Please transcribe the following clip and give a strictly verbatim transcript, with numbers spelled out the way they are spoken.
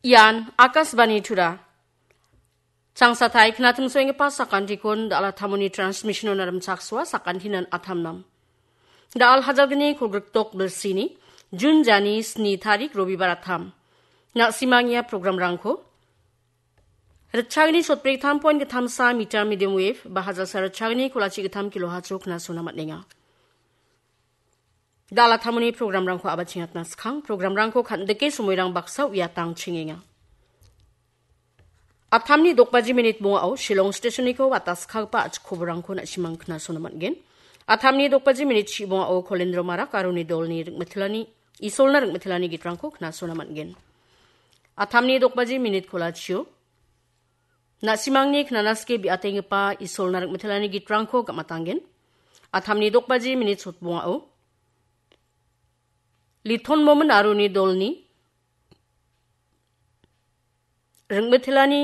Ian Akashvani Tura. Changsatai knatimsoenggipa sakantikon da·al attamoni transmission-ona rimchaksoa, sakantinan attamnam. Da·al hajalgni kolgrikdok bilsini, Jun jani sni tarik Robibar attam. Na·simang ia programrangko ritchagni sotbrik tam poin gittamsa meter medium wave ba hajalsa ritchagni kolachi gittam kilohertz-o knasona man·enga. Da·al attamoni programrangko a·bachengatna skang, programrangko kan·dike somoirang baksa uiatangchengenga. Attamni dokbaji minit bongao Shillong stationniko wataskagipa a·chik koborangko na·simang knasona man·gen. Attamni dokbaji minit chi bongao Kolendro Marak aro uni dolni ringmitilani, Isolna ringmitilani gitrangko knasona man·gen. Attamni dokbaji minit kolachio na·simangni knanaske bi·atenggipa Isolna ringmitilani gitrangko gam·atanggen. Attamni dokbaji minit sotbongao Liton Momin aro uni dolni ringmitilani